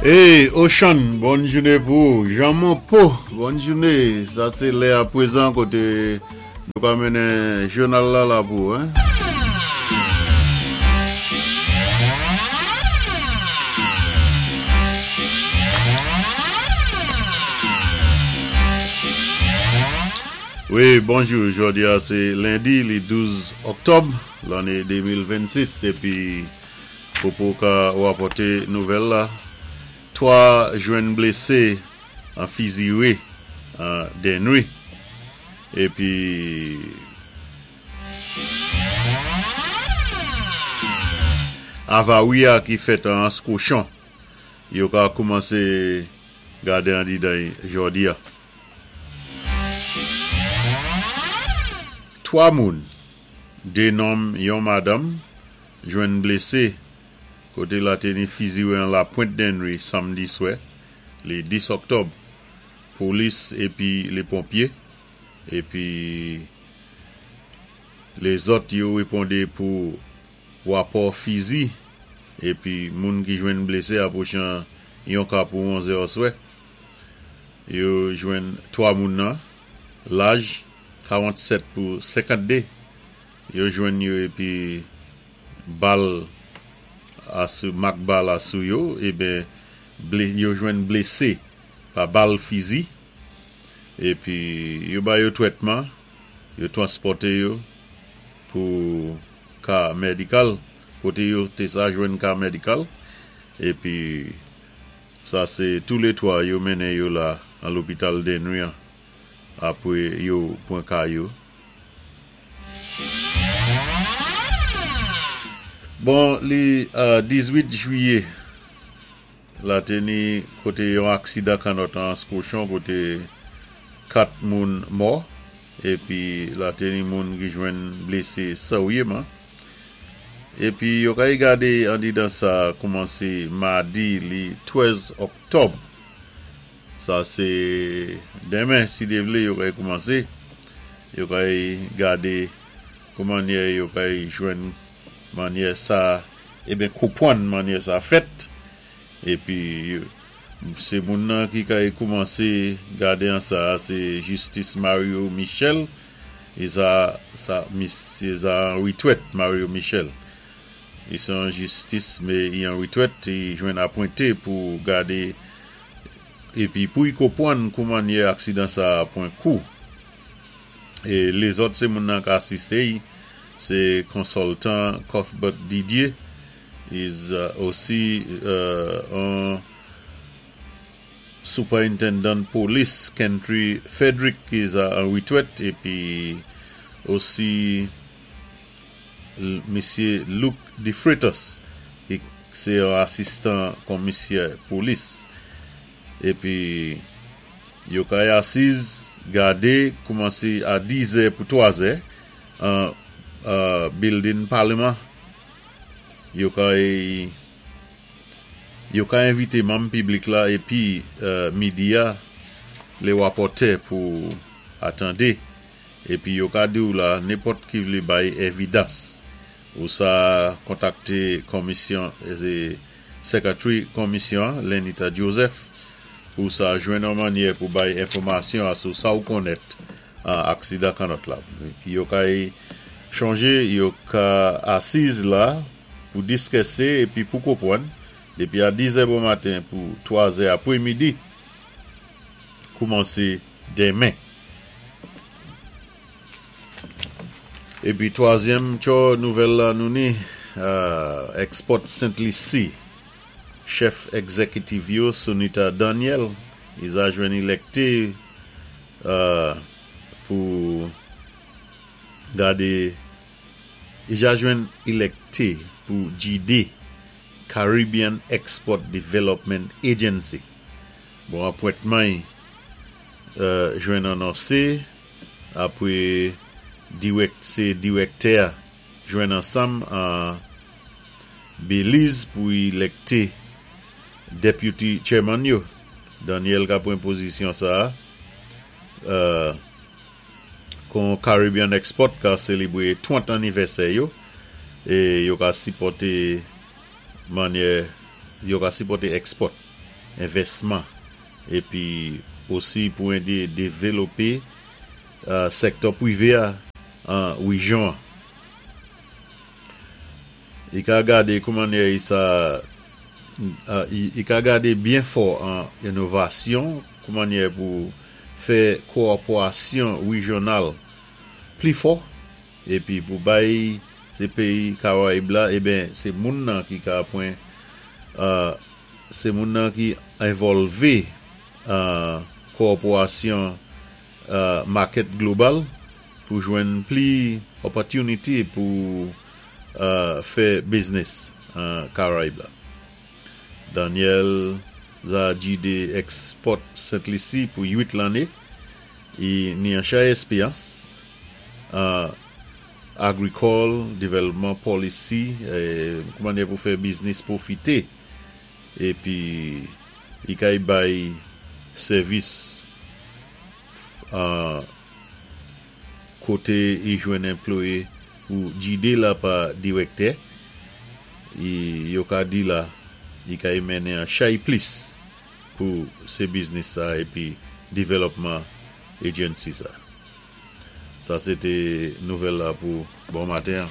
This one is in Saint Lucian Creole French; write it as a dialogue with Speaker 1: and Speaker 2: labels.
Speaker 1: Hey Ocean, bòn jouné pou ou. Jean Monpo, bòn jouné. Sa sé lè a pwézan koté nou ka mennen jounal la la pou ou hein. Wi, bonjou. Jodi a sé lendi li 12 oktòb lanné 2026 épi Popo ka rapòte nouvèl la, 3 jwenn blese an fizire an Dennery epi avari a ki fèt an Anse Cochon yo ka koumanse gade andidan y jòdi a. 3 moun, 2 nonm yon madanm, jwenn blese kote lateni fizire an Lapwent Dennery samdi swè le 10 oktòb. Polis epi le ponpye epi lezòt yo reponde pou rapò fizi epi moun ki jwenn blese apwochan yon ka pou 11 è swè. Yo jwenn 3 moun nan laj 47 pou 52. Yo jwenn yo epi bal a sou mak bal a sou yo eben ble yo jwenn blese pa bal fizi epi yo ba yo twètman yo twanspòte yo pou ka mèdikal kote yo te sa jwenn ka mèdikal epi sa se tou le 3 yo mennen yo la an lopital Dennery an apre yo pran ka yo. Bon li 18 jwiye la te ni kote yon aksidan kannòt an Anse Cochon kote 4 moun mò epi la te ni moun ki jwenn blese seryeman epi yo kay gade andidan sa koumanse madi li 13 oktòb. Sa se demen si Dye vle yo kay koumanse, yo kay gade kou mannyè yo kay jwenn mannyè sa eben konpwann mannyè sa fèt epi se moun nan ki kay koumanse gade an sa se jistis Mario Michel e sa sa misye sa an retwèt Mario Michel li se yon jistis me i an retwèt li jwenn apwente pou gade Epi pou y konpwann kou mannyè aksidan sa a pwan kou. E lezòt se moun nan k asiste y, se konsoltan Cuthbert Didier, is osi on Superintendent Polis Kentry Frederick ki za an retwèt epi osi Misye Luke DeFreitas ki se yon asistan konmisyè polis. Epi yo kay asiz gade koumanse a 10 zè pou 3 zè an bildin paleman. Yo kay yo ka envite manm piblik la epi midia le rapòtè pou atande. Epi yo ka diw la nenpòt ki vle bay evidans ou sa kontakte komisyon secretary komisyon an Lenita Joseph pou sa jwenn yon mannyè pou bay enfòmasyon a sou sa ou konnèt an aksidan kannòt la. Yo ka chonje yo ka asiz la pou diskèse epi pou konpwann depi a 10 zè bon maten pou 3 zè apre midi koumanse demen. Epi twazyèm tchò nouvèl la nou ni Export Sent Lisi chèf egzekitiv yo Sunita Daniel iza jwenn ilèkte pou gade ija jwenn ilèkte pou gide Caribbean Export Development Agency bon apwentman y jwenn anonse apre dirèk se dirèktè a jwenn ansanm an Belize pou ilèkte Deputy Chairman yo. Daniel ka pran pozisyon sa a kon Caribbean Export ka selebre 30 anivèsè yo e yo ka sipòte manyè yo ka sipòte export. envèsman épi osi pou édé dévélopé sèktè pwivé-a an wéjyon-an. I ka gadé kou mannyè i sa i ka gadé byen fò an inovasyon kou mannyè pou fè kowòpwasyon wéjyonnal pli fò épi pou bay sé péyi Karayib la eben sé moun nan ki ka pwan sé moun nan ki envòlvé an kowòpwasyon makèt global pou jwenn pli opòtinité pou fè biznis an Karayib la. Daniel za jidé Export Sent Lisi pou 8 lanné, i ni an chay èspéyans an agrikòl, devèlopman pòlisi, kou mannyè pou fè biznis pwofité épi i kay bay sèvis an koté i jwenn anplwayé pou jidé la pa dirèktè i yo ka di la i kay mennen an chay plis pou sé biznis sa épi devèlopman agency sa. Sa sé té nouvèl la pou bon maten an.